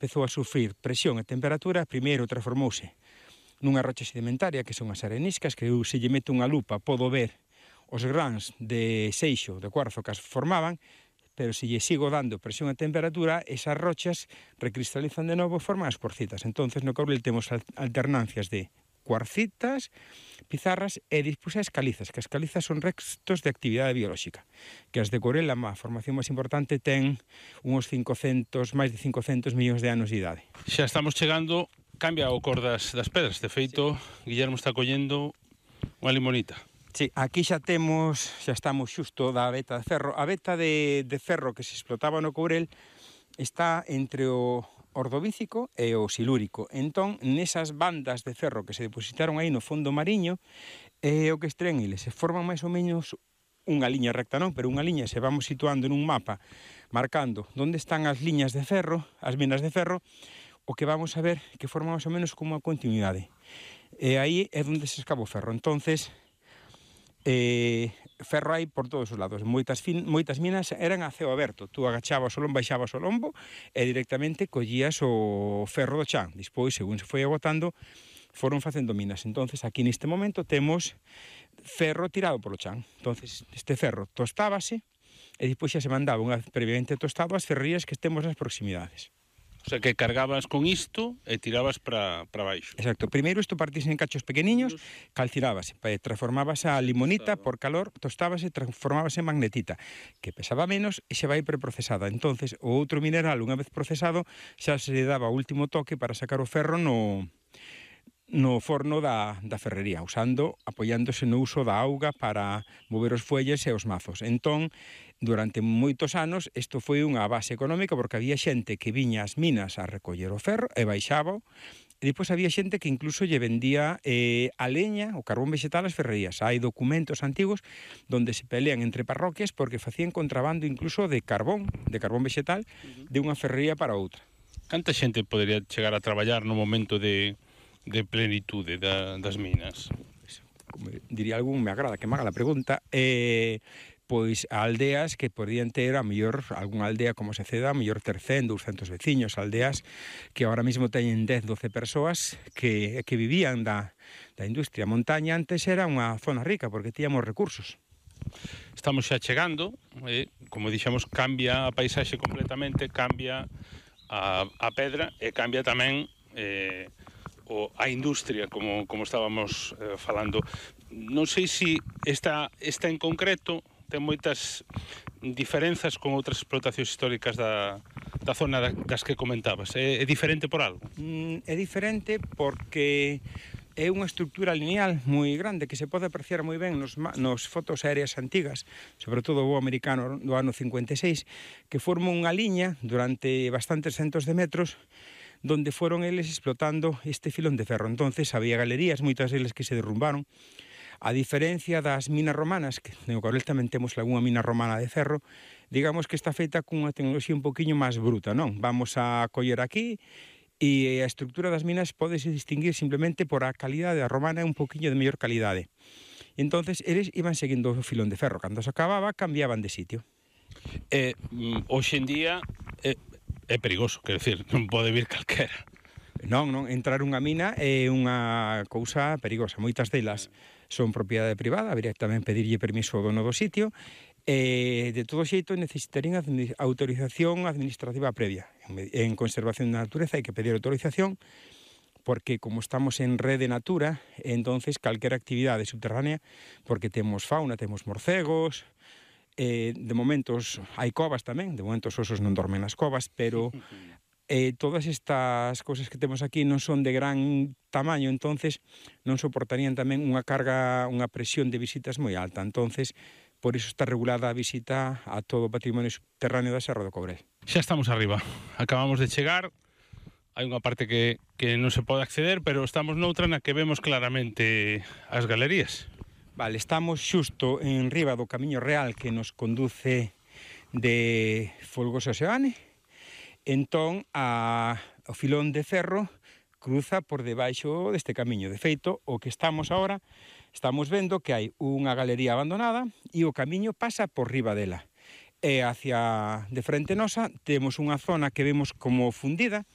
empezou a sufrir presión e temperatura, primeiro transformouse nunha rocha sedimentaria, que son as areniscas, que eu, se lle meto unha lupa, podo ver os grans de seixo, de cuarzo que as formaban, pero se lle sigo dando presión e temperatura, esas rochas recristalizan de novo e forman as cuarcitas. Entonces, no Courel temos alternancias de cuarcitas, pizarras e despois as calizas, que as calizas son restos de actividade biolóxica, que as de Courel, a formación máis importante, ten máis de 500 millóns de anos de idade. Xa estamos chegando, cambia o cor das pedras. De feito, sí. Guillermo está collendo unha limonita. Sí, aquí xa estamos xusto da veta de ferro. A veta de ferro que se explotaba no Courel está entre o ordovícico e o silúrico. Entón, nesas bandas de ferro que se depositaron aí no fondo mariño, o que extraen eles, se forman máis ou menos unha liña recta, non? Pero unha liña, se vamos situando nun mapa, marcando onde están as liñas de ferro, as minas de ferro, o que vamos a ver que forma máis ou menos como unha continuidade. E aí é onde se escava o ferro. Entonces, ferro hai por todos os lados. Moitas minas eran a ceo aberto. Tú agachabas o lombo, baixabas o lombo e directamente collías o ferro do chan. Despois, según se foi agotando, foron facendo minas. Entonces, aquí neste momento temos ferro tirado polo chan. Entonces, este ferro tostábase e despois xa se mandaba unha previamente tostado ás ferrerías que estemos nas proximidades. O sea, que cargabas con isto e tirabas para baixo. Exacto. Primeiro isto partise en cachos pequeniños, calcinábase, transformábase a limonita por calor, tostábase, transformábase en magnetita, que pesaba menos e xa vai preprocesada. Entonces, o outro mineral, unha vez procesado, xa se le daba o último toque para sacar o ferro no forno da ferrería, apoiándose no uso da auga para mover os fuelles e os mazos. Entón, durante moitos anos, isto foi unha base económica porque había xente que viña ás minas a recoller o ferro e baixaba, e depois había xente que incluso lle vendía a leña, o carbón vegetal ás ferrerías. Hai documentos antigos donde se pelean entre parroquias porque facían contrabando incluso de carbón vegetal de unha ferrería para outra. Canta xente podería chegar a traballar no momento de plenitude das minas? Como diría algún, me agrada que me haga la pregunta, pois aldeas que podían ter a mellor, algunha aldea como Seceda, a mellor ter 100, 200 veciños, aldeas que ahora mismo teñen 10, 12 persoas que vivían da industria. A montaña antes era unha zona rica porque tíamos recursos. Estamos xa chegando, como dixemos, cambia a paisaxe completamente, cambia a pedra e cambia tamén a industria, como estábamos falando. Non sei se esta en concreto ten moitas diferenzas con outras explotacións históricas da zona das que comentabas. É diferente por algo? É diferente porque é unha estructura lineal moi grande que se pode apreciar moi ben nos fotos aéreas antigas, sobre todo o americano do ano 56, que forma unha liña durante bastantes centos de metros donde foron eles explotando este filón de ferro. Entonces había galerías, moitas deles que se derrumbaron. A diferencia das minas romanas, que no Courel tamén temos algunha mina romana de ferro, digamos que está feita cunha tecnoloxía un poquinho máis bruta, non? Vamos a coller aquí e a estructura das minas pódese distinguir simplemente por a calidade. A romana é un poquinho de mellor calidade. Entonces, eles iban seguindo o filón de ferro. Cando se acababa, cambiaban de sitio. Hoxe en día é perigoso, quero dicir, non pode vir calquera. Non, entrar unha mina é unha cousa perigosa. Moitas delas son propiedade privada, habería tamén pedirlle permiso ao dono do sitio, e de todo xeito necesitarían autorización administrativa previa. En conservación da natureza hai que pedir autorización, porque como estamos en rede natura, entonces calquera actividade subterránea, porque temos fauna, temos morcegos, de momentos hai covas tamén, de momentos os osos non dormen nas covas, pero todas estas cousas que temos aquí non son de gran tamaño, entonces non soportarían tamén unha carga, unha presión de visitas moi alta. Entonces, por iso está regulada a visita a todo o patrimonio subterráneo da Serra do Courel. Xa estamos arriba, acabamos de chegar, hai unha parte que non se pode acceder, pero estamos noutra na que vemos claramente as galerías. Vale, estamos xusto en riba do camiño real que nos conduce de Folgoso a Seoane. Entón, o filón de ferro cruza por debaixo deste camiño. De feito, o que estamos vendo que hai unha galería abandonada e o camiño pasa por riba dela. E hacia de frente nosa temos unha zona que vemos como fundida,